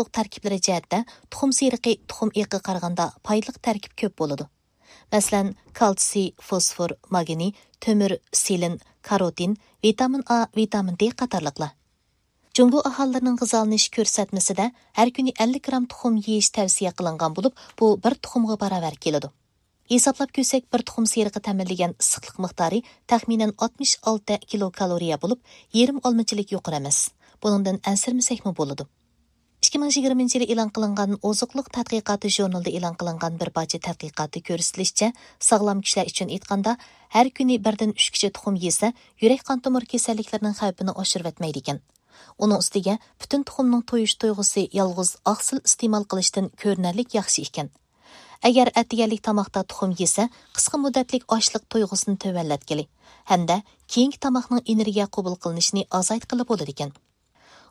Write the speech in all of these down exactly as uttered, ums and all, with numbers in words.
تەركىبلىرى جەھەتتە تۇخۇم سېرىقى تۇخۇم ئېقىغا قارىغاندا پايدىلىق تەركىب كۆپ بولىدۇ. مەسىلەن، كالتسىي، فوسفور، ماگنىي، تۆمۈر، سېلېن، كاروتىن، ۋىتامىن ئا، ۋىتامىن دې قاتارلىقلار. جۇڭگو ئاھالىلىرىنىڭ غىزالىنىش كۆرسەتمىسىدە ھەر كۈنى ئەللىك گرام تۇخۇم يېيىش تەۋسىيە قىلىنغان بولۇپ، بۇ بىر تۇخۇمغا باراۋەر كېلىدۇ. ھېسابلاپ كۆرسەك، بىر تۇخۇم سېرىقى تەمىنلىگەن ئىسسىقلىق مىقدارى تەخمىنەن ئاتمىش ئالتە كىلوكالورىيە بولۇپ، يېرىم ئالمىچىلىك يۇقىرى ئەمەس. بۇنىڭدىن ئەنسىرىمىسەكمۇ بولىدۇ. ئىككى مىڭ يىگىرمىنچى يىلى ئېلان قىلىنغان ئوزۇقلۇق تەتقىقاتى ژۇرنىلىدا ئېلان قىلىنغان بىر پارچە تەتقىقاتتا كۆرسىتىلىشىچە، ساغلام كىشىلەر ئۈچۈن ئېيتقاندا، ھەر كۈنى بىردىن ئۈچكىچە تۇخۇم يېسە، يۈرەك قان تومۇر كېسەللىكلىرىنىڭ خەۋپىنى ئاشۇرۇۋەتمەيدىكەن. ئۇنىڭ ئۈستىگە، پۈتۈن تۇخۇمنىڭ تويۇش تۇيغۇسى يالغۇز ئاقسىل ئىستېمال قىلىشتىن كۆرۈنەرلىك ياخشى ئىكەن. ئەگەر ئەتىگەنلىك تاماقتا تۇخۇم يېسە، قىسقا مۇددەتلىك ئاچلىق تۇيغۇسىنى تۆۋەنلەتكىلى ھەمدە كېيىنكى تاماقنىڭ ئېنېرگىيە قوبۇل قىلىنىشىنى ئازايتقىلى بولىدىكەن.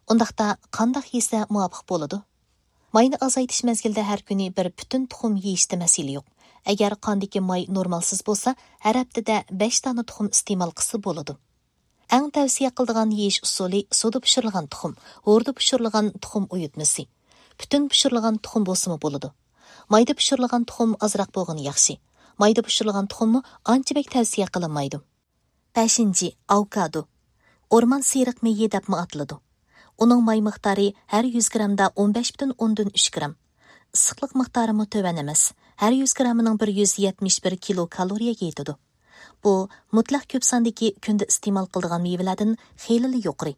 ئۇنداقتا قانداق يېسە مۇۋاپىق بولىدۇ؟ ماينى ئازايتىش مەزگىلىدە ھەر كۈنى بىر پۈتۈن تۇخۇم يېيىشتە مەسىلە يوق. ئەگەر قاندىكى ماي نورمالسىز بولسا، ھەر ھەپتىدە بەش دانە تۇخۇم ئىستېمال قىلسا بولىدۇ. ئەڭ تەۋسىيە قىلىدىغان يېيىش ئۇسۇلى سۇدا پىشۇرۇلغان تۇخۇم، ھوردا پىشۇرۇلغان تۇخۇم ئۇيۇتمىسى. پۈتۈن پىشۇرۇلغان تۇخۇم بولسىمۇ بولىدۇ. مايدا پىشۇرۇلغان تۇخۇم ئازراق بولغىنى ياخشى. مايدا پىشۇرۇلغان تۇخۇممۇ ئانچە بەك تەۋسىيە قىلىنمايدۇ. بەشىنچى، ئاۋوكادو. ئورمان سېرىق مېيى دەپمۇ ئاتىلىدۇ. ئۇنىڭ ماي مىقدارى ھەر يۈز گرامدا ئون بەش پۈتۈن ئوندىن ئۈچ گرام. ئىسسىقلىق مىقدارىمۇ تۆۋەن ئەمەس. ھەر يۈز گرامىنىڭ بىر يۈز يەتمىش بىر كىلوكالورىيەگە يېتىدۇ. بۇ مۇتلەق كۆپ ساندىكى كۈندە ئىستېمال قىلىدىغان مېۋىلەردىن خېلىلا يۇقىرى.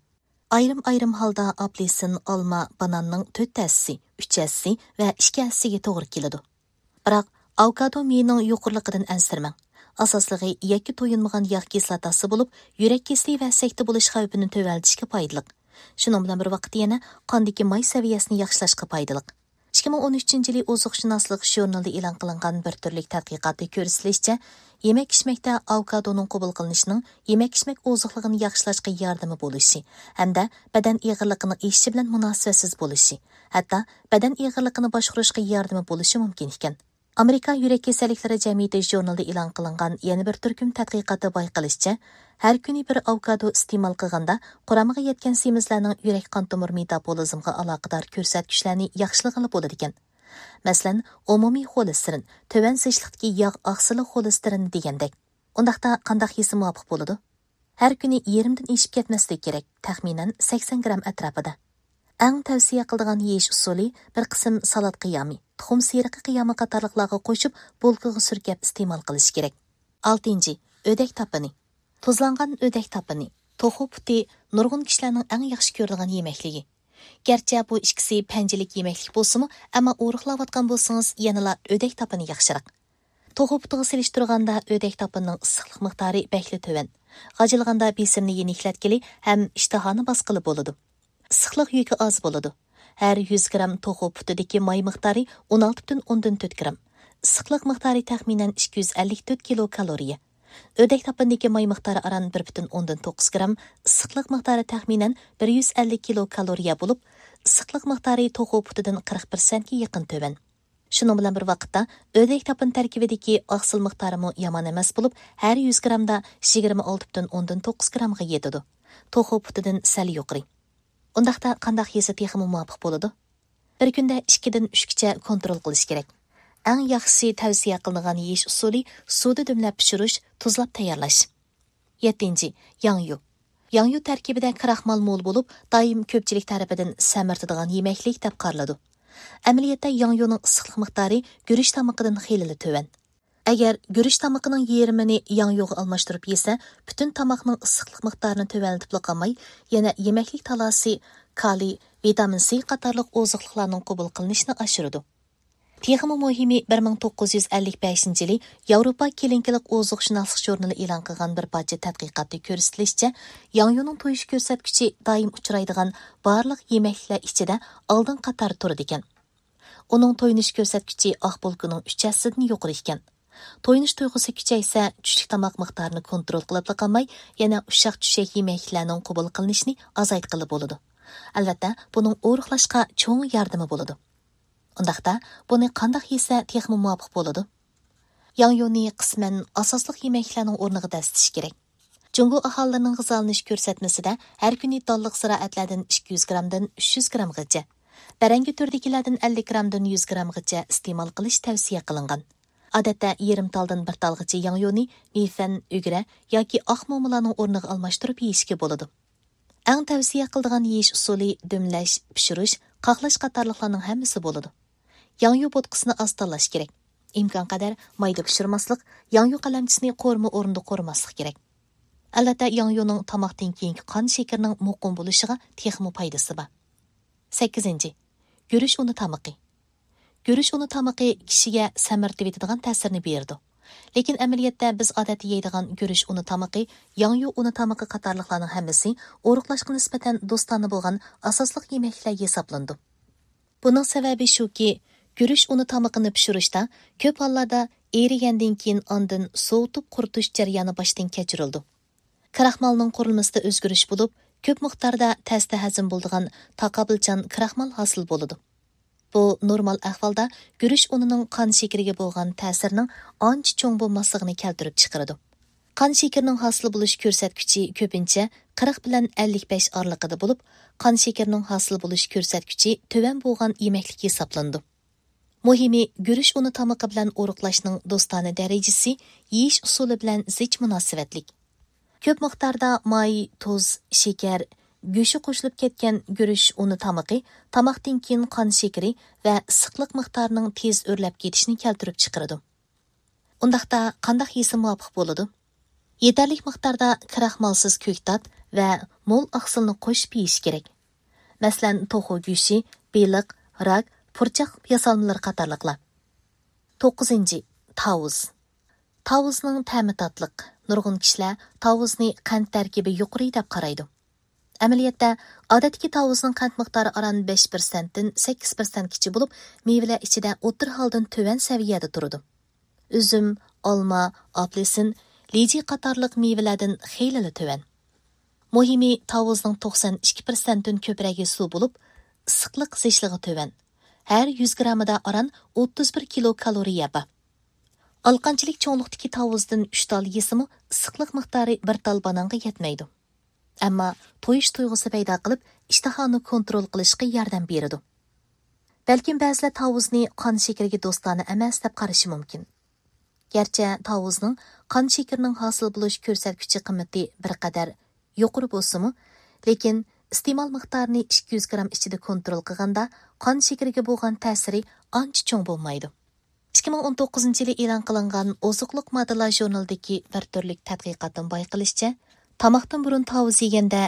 ئايرىم-ئايرىم ھالدا ئاپېلسىن، ئالما، باناننىڭ تۆت ھەسسىسى، ئۈچ ھەسسىسى ۋە ئىككى ھەسسىسىگە توغرا كېلىدۇ. بىراق، ئاۋوكادو مېيىنىڭ يۇقىرىلىقىدىن ئەنسىرىمەڭ. ئاساسلىقى يەككە تويۇنمىغان ياغ كىسلاتاسى بولۇپ، يۈرەك كېسىلى ۋە سەكتە بولۇش خەۋپىنى تۆۋەنلىتىشكە پايدىلىق. شۇنىڭ بىلەن بىر ۋاقىتتا يەنە قاندىكى ماي سەۋىيەسىنى ياخشىلاشقا پايدىلىق. ئىككى مىڭ ئون ئۈچىنچى يىلى ئوزۇقشۇناسلىق ژۇرنىلىدا ئېلان قىلىنغان بىر تۈرلۈك تەتقىقاتتا كۆرسىتىلىشىچە، يېمەك-ئىچمەكتە ئاۋوكادونىڭ قوبۇل قىلىنىشىنىڭ يېمەك-ئىچمەك ئوزۇقلۇقىنى ياخشىلاشقا ياردىمى بولۇشى ھەمدە بەدەن ئېغىرلىقىنىڭ ئېشىشى بىلەن مۇناسىۋەتسىز بولۇشى، ھەتتا بەدەن ئېغىرلىقىنى باشقۇرۇشقا ياردىمى بولۇشى مۇمكىن ئىكەن. ئامېرىكا يۈرەك كېسەللىكلىرى جەمئىيىتى ژۇرنىلىدا ئېلان قىلىنغان يەنە بىر تۈركۈم تەتقىقاتتا بايقىلىشىچە، ھەر كۈنى بىر ئاۋوكادو ئىستېمال قىلغاندا، قۇرامىغا يەتكەن سېمىزلەرنىڭ يۈرەك قان تومۇر مېتابولىزمغا ئالاقىدار كۆرسەتكۈچلەرنى ياخشىلىغىلى بولىدىكەن. مەسىلەن، ئومۇمىي خولېستېرىن، تۆۋەن زىچلىقتىكى ياغ ئاقسىلى خولېستېرىنى دېگەندەك. ئۇنداقتا قانداق يېسە مۇۋاپىق بولىدۇ؟ ھەر كۈنى يېرىمدىن ئېشىپ كەتمەسلىكى كېرەك، تەخمىنەن سەكسەن گرام ئەتراپىدا. ئەڭ تەۋسىيە قىلىدىغان يېيىش ئۇسۇلى بىر قىسىم سالات قىيامى، تۇخۇم سېرىقى قىيامى قاتارلىقلارغا قوشۇپ، بولكىغا سۈركەپ ئىستېمال قىلىش كېرەك. ئالتىنچى، ئۆدەك تاپىنى. تۇزلانغان ئۆدەك تاپىنى، توخۇ پۇتى نۇرغۇن كىشىلەرنىڭ ئەڭ ياخشى كۆرىدىغان يېمەكلىكى. گەرچە بۇ ئىككىسى پەنجىلىك يېمەكلىك بولسىمۇ، ئەمما ئورۇقلاۋاتقان بولسىڭىز، يەنىلا ئۆدەك تاپىنى ياخشىراق. توخۇ پۇتىغا سېلىشتۇرغاندا ئۆدەك تاپىنىنىڭ ئىسسىقلىق مىقدارى بەكلا تۆۋەن. غاجىلىغاندا بېسىمنى يېنىكلەتكىلى ھەم ئىشتىھانى باسقىلى بولىدۇ. ئىسسىقلىق يۈكى ئاز بولىدۇ. ھەر يۈز گرام توخۇ پۇتىدىكى ماي مىقدارى ئون ئالتە پۈتۈن ئوندىن تۆت گرام. ئىسسىقلىق مىقدارى تەخمىنەن ئىككى يۈز ئەللىك تۆت كىلوكالورىيە. ئۆدەك تاپىنىدىكى ماي مىقدارى ئاران بىر پۈتۈن ئوندىن توققۇز گرام، ئىسسىقلىق مىقدارى تەخمىنەن بىر يۈز ئەللىك كىلوكالورىيە بولۇپ، ئىسسىقلىق مىقدارى توخۇ پۇتىدىن قىرىق پىرسەنتكە يېقىن تۆۋەن. شۇنىڭ بىلەن بىر ۋاقىتتا، ئۆدەك تاپىنى تەركىبىدىكى ئاقسىل مىقدارىمۇ يامان ئەمەس بولۇپ، ھەر يۈز گرامدا يىگىرمە ئالتە پۈتۈن ئوندىن توققۇز گرامغا يېتىدۇ. توخۇ پۇتىدىن سەل يۇقىرى. ئۇنداقتا قانداق يېسە تېخىمۇ مۇۋاپىق بولىدۇ؟ بىر كۈندە ئىككىدىن ئۈچكىچە كونترول قىلىش كېرەك. ئەڭ ياخشىسى تەۋسىيە قىلىنغان يېيىش ئۇسۇلى سۇدا دۈملەپ پىشۇرۇش، تۇزلاپ تەييارلاش. يەتتىنچى، ياڭيۇ. ياڭيۇ تەركىبىدە كراخمال مول بولۇپ، دائىم كۆپچىلىك تەرىپىدىن سەمرىتىدىغان يېمەكلىك دەپ قارىلىدۇ. ئەمەلىيەتتە ياڭيۇنىڭ ئىسسىقلىق مىقدارى گۈرۈچ تامىقىدىن خېلىلا تۆۋەن. ئەگەر گۈرۈچ تامىقىنىڭ يېرىمىنى ياڭيۇغا ئالماشتۇرۇپ يېسە، پۈتۈن تاماقنىڭ ئىسسىقلىق مىقدارىنى تۆۋەنلىتىپلا قالماي، يەنە يېمەكلىك تالاسى، كالىي، ۋىتامىن سى قاتارلىق ئوزۇقلۇقلارنىڭ قوبۇل قىلىنىشىنى ئاشۇرىدۇ. تېخىمۇ مۇھىمى، بىر مىڭ توققۇز يۈز ئەللىك بەشىنچى يىلى ياۋروپا كىلىنىكىلىق ئوزۇقشۇناسلىق ژۇرنىلى ئېلان قىلغان بىر پارچە تەتقىقاتتا كۆرسىتىلىشىچە، ياڭيۇنىڭ تويۇش كۆرسەتكۈچى دائىم ئۇچرايدىغان بارلىق يېمەكلىكلەر ئىچىدە ئالدىنقى قاتاردا تۇرىدىكەن. ئۇنىڭ تويۇنۇش كۆرسەتكۈچى ئاق بولكىنىڭ ئۈچ ھەسسىدىن يۇقىرى ئىكەن. تويۇنۇش تۇيغۇسى كۈچەيسە، چۈشلۈك تاماق مىقدارىنى كونترول قىلىپلا قالماي، يەنە ئۇششاق چۈشەك يېمەكلىكلەرنىڭ قوبۇل قىلىنىشىنى ئازايتقىلى بولىدۇ. ئەلۋەتتە، بۇنىڭ ئورۇقلاشقا چوڭ ياردىمى بولىدۇ. ئۇنداقتا، بۇنى قانداق يېسە تېخىمۇ مۇۋاپىق بولىدۇ؟ ياڭيۇنى قىسمەن ئاساسلىق يېمەكلىكلەرنىڭ ئورنىغا دەسسىتىش كېرەك. جۇڭگو ئاھالىلىرىنىڭ غىزالىنىش كۆرسەتمىسىدە ھەر كۈنى دانلىق زىرائەتلەردىن ئىككى يۈز گرامدىن ئۈچ يۈز گرامغىچە، بەرەڭگى تۈرىدىكىلەردىن ئەللىك گرامدىن يۈز گرامغىچە ئىستېمال قىلىش تەۋسىيە قىلىنغان. ئادەتتە يېرىم تالدىن بىر تالغىچە ياڭيۇنى مىفەن، ئۈگرە ياكى ئاق مومىلارنىڭ ئورنىغا ئالماشتۇرۇپ يېيىشكە بولىدۇ. ئەڭ تەۋسىيە قىلىدىغان يېيىش ئۇسۇلى دۈملەش، پىشۇرۇش، قاقلاش قاتارلىقلارنىڭ ھەممىسى بولىدۇ. ياڭيۇ بوتقىسىنى ئاز تاللاش كېرەك. ئىمكانقەدەر مايدا پىشۇرماسلىق، ياڭيۇ قەلەمچىسىنى قورۇما ئورنىدا قورۇماسلىق كېرەك. ئەلۋەتتە، ياڭيۇنىڭ تاماقتىن كېيىنكى قان شېكىرىنىڭ مۇقىم بولۇشىغا تېخىمۇ پايدىسى بار. سەككىزىنچى، گۈرۈچ ئۇنى تامىقى. گۈرۈچ ئۇنى تامىقى كىشىگە سەمرىتىۋېتىدىغان تەسىرنى بېرىدۇ. لېكىن ئەمەلىيەتتە بىز ئادەتتە يەيدىغان گۈرۈچ ئۇنى تامىقى ياڭيۇ ئۇنى تامىقى قاتارلىقلارنىڭ ھەممىسى ئورۇقلاشقا نىسبەتەن دوستانە بولغان ئاساسلىق يېمەكلىكلەر ھېسابلىنىدۇ. بۇنىڭ سەۋەبى شۇكى، گۈرۈچ ئۇنى تامىقىنى پىشۇرۇشتا كۆپ ھاللاردا ئېرىگەندىن كېيىن ئاندىن سوۋۇتۇپ قۇرۇتۇش جەريانى باشتىن كەچۈرۈلىدۇ. كراخمالنىڭ قۇرۇلمىسىدا ئۆزگىرىش بولۇپ، كۆپ مىقداردا تەستە ھەزىم بولىدىغان تاقابىلچان كراخمال ھاسىل بولىدۇ. بۇ نورمال ئەھۋالدا گۈرۈچ ئۇنىنىڭ قان شېكىرىگە بولغان تەسىرىنىڭ ئانچە چوڭ بولماسلىقىنى كەلتۈرۈپ چىقىرىدۇ. قان شېكىرىنىڭ ھاسىل بولۇش كۆرسەتكۈچى كۆپىنچە قىرىق بىلەن ئەللىك بەش ئارىلىقىدا بولۇپ، قان شېكىرىنىڭ ھاسىل بولۇش كۆرسەتكۈچى تۆۋەن بولغان يېمەكلىك ھېسابلىنىدۇ. مۇھىمى، گۈرۈچ ئۇنى تامىقى بىلەن ئورۇقلاشنىڭ دوستانە دەرىجىسى يېيىش ئۇسۇلى بىلەن زىچ مۇناسىۋەتلىك. كۆپ مىقداردا ماي، تۇز، شېكەر، گۆشى قوشۇلۇپ كەتكەن گۈرۈچ ئۇنى تامىقى تاماقتىن كېيىن قان شېكىرى ۋە ئىسسىقلىق مىقدارىنىڭ تېز ئۆرلەپ كېتىشىنى كەلتۈرۈپ چىقىرىدۇ. ئۇنداقتا قانداق يېسە مۇۋاپىق بولىدۇ؟ يېتەرلىك مىقداردا كراخمالسىز كۆكتات ۋە مول ئاقسىلنى قوشۇپ يېيىش كېرەك. مەسىلەن، توخۇ گۆشى، بېلىق، راك، پۇرچاق ياسالمىلىرى قاتارلىقلار. توققۇزىنچى، تاۋۇز. تاۋۇزنىڭ تەمى تاتلىق. نۇرغۇن كىشىلەر تاۋۇزنى قەنت تەركىبى يۇقىرى دەپ قارايدۇ. ئەمەلىيەتتە، ئادەتتىكى تاۋۇزنىڭ قەنت مىقدارى ئاران بەش پىرسەنتتىن سەككىز پىرسەنتكىچە بولۇپ، مېۋىلەر ئىچىدە ئوتتۇرا ھالدىن تۆۋەن سەۋىيەدە تۇرىدۇ. ئۈزۈم، ئالما، ئاپېلسىن، لىجى قاتارلىق مېۋىلەردىن خېلىلا تۆۋەن. مۇھىمى، تاۋۇزنىڭ توقسان ئىككى پىرسەنتتىن كۆپرەكى سۇ بولۇپ، ئىسسىقلىق زىچلىقى تۆۋەن. ھەر يۈز گرامىدا ئاران ئوتتۇز بىر كىلو كالورىيە بار. ئالىقانچىلىك چوڭلۇقتىكى تاۋۇزدىن ئۈچ تال يېسىمۇ، ئىسسىقلىق مىقدارى بىر تال بانانغا يەتمەيدۇ. ئەمما تويۇش تۇيغۇسى پەيدا قىلىپ، ئىشتىھانى كونترول قىلىشقا ياردەم بېرىدۇ. بەلكىم بەزىلەر تاۋۇزنى قان شېكىرىگە دوستانە ئەمەس دەپ قارىشى مۇمكىن. گەرچە تاۋۇزنىڭ قان شېكىرىنىڭ ھاسىل بولۇش كۆرسەتكۈچى قىممىتى بىر قەدەر يۇقىرى بولسىمۇ، لېكىن ئىستېمال مىقدارىنى ئىككى يۈز گرام ئىچىدە كونترول قىلغاندا، قان شېكىرىگە بولغان تەسىرى ئانچە چوڭ بولمايدۇ. ئىككى مىڭ ئون توققۇزىنچى يىلى ئېلان قىلىنغان ئوزۇقلۇق ماددىلار ژۇرنىلىدىكى بىر تۈرلۈك تەتقىقاتتىن بايقىلىشىچە، تاماقتىن بۇرۇن تاۋۇز يېگەندە،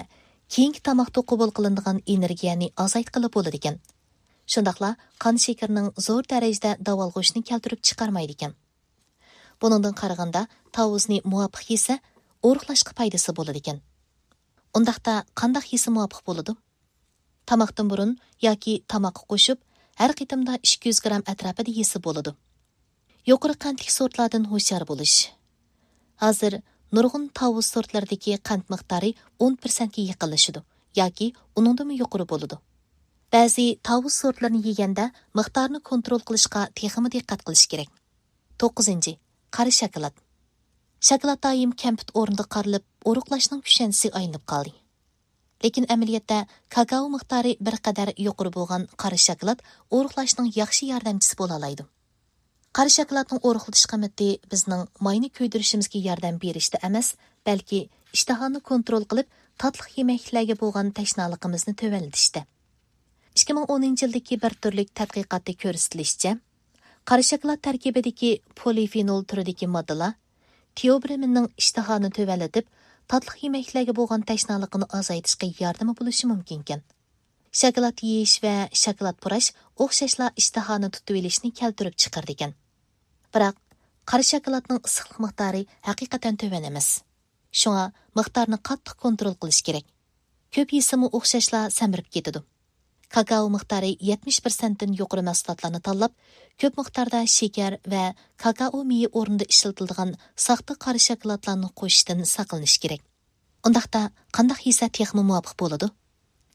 كېيىنكى تاماقتا قوبۇل قىلىنىدىغان ئېنېرگىيەنى ئازايتقىلى بولىدىكەن. شۇنداقلا قان شېكىرىنىڭ زور دەرىجىدە داۋالغۇشنى كەلتۈرۈپ چىقارمايدىكەن. بۇنىڭدىن قارىغاندا، تاۋۇزنى مۇۋاپىق يېسە، ئورۇقلاشقا پايدىسى بولىدىكەن. ئۇنداقتا قانداق يېسە مۇۋاپىق بولىدۇ؟ تاماقتىن بۇرۇن ياكى تاماققا قوشۇپ، ھەر قېتىمدا ئىككى يۈز گرام ئەتراپىدا يېسە بولىدۇ. يۇقىرى قەنتلىك سورتلاردىن ھوشيار بولۇش. ھازىر نۇرغۇن تاۋۇز سورتلىرىدىكى قەنت مىقدارى ئون پىرسەنتكە يېقىنلىشىدۇ ياكى ئۇنىڭدىنمۇ يۇقىرى بولىدۇ. بەزى تاۋۇز سورتلىرىنى يېگەندە مىقدارنى كونترول قىلىشقا تېخىمۇ دىققەت قىلىش كېرەك. توققۇزىنچى، قارا شاكىلات. شاكىلات دائىم كەمپۈت ئورنىدا قارىلىپ، ئورۇقلاشنىڭ كۈشەنچىسىگە ئايلىنىپ قالدى. لېكىن ئەمەلىيەتتە كاكائو مىقدارى بىر قەدەر يۇقىرى بولغان قارا شاكىلات ئورۇقلاشنىڭ ياخشى ياردەمچىسى بولالايدۇ. قارا شاكىلاتنىڭ ئورۇقلىتىش قىممىتى بىزنىڭ ماينى كۆيدۈرۈشىمىزگە ياردەم بېرىشتە ئەمەس، بەلكى ئىشتىھانى كونترول قىلىپ، تاتلىق يېمەكلىكلەرگە بولغان تەشنالىقىمىزنى تۆۋەنلىتىشتە. ئىككى مىڭ ئونىنچى يىلدىكى بىر تۈرلۈك تەتقىقاتتا كۆرسىتىلىشىچە، قارا شاكىلات تەركىبىدىكى پولىفېنول تۈرىدىكى ماددىلار تېئوبرېمىننىڭ ئىشتىھانى تۆۋەنلىتىپ، تاتلىق يېمەكلەرگە بولغان تەشنالىقىنى ئازايتىشقا ياردىمى بولۇشى مۇمكىنكەن. شاكىلات يېيىش ۋە شاكىلات پۇراش ئوخشاشلا ئىشتىھانى تۇتۇۋېلىشنى كەلتۈرۈپ چىقىرىدىكەن. بىراق، قارا شاكىلاتنىڭ ئىسسىقلىق مىقدارى ھەقىقەتەن تۆۋەن ئەمەس. شۇڭا مىقدارنى قاتتىق كونترول قىلىش كېرەك. كۆپ يېسىمۇ ئوخشاشلا سەمرىپ كېتىدۇ. كاكائو مىقدارى يەتمىش پىرسەنتتىن يۇقىرى مەھسۇلاتلارنى تاللاپ، كۆپ مىقداردا شېكەر ۋە كاكائو مېيى ئورنىدا ئىشلىتىلىدىغان ساختا قارا شاكىلاتلارنى قوشۇشتىن ساقلىنىش كېرەك. ئۇنداقتا قانداق يېسە تېخىمۇ مۇۋاپىق بولىدۇ؟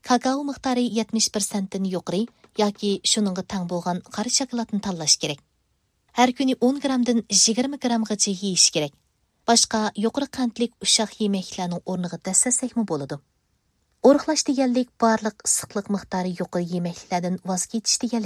كاكائو مىقدارى يەتمىش پىرسەنتتىن يۇقىرى ياكى شۇنىڭغا تەڭ بولغان قارا شاكىلاتنى تاللاش كېرەك. ھەر كۈنى ئون گرامدىن يىگىرمە گرامغىچە يېيىش كېرەك. باشقا يۇقىرى قەنتلىك ئۇششاق يېمەكلىكلەرنىڭ ئورنىغا دەسسەتسەكمۇ بولىدۇ. ئورۇقلاش دېگەنلىك بارلىق ئىسسىقلىق مىقدارى يۇقىرى يېمەكلىكلەردىن ۋاز كېچىش دېگەنلىك.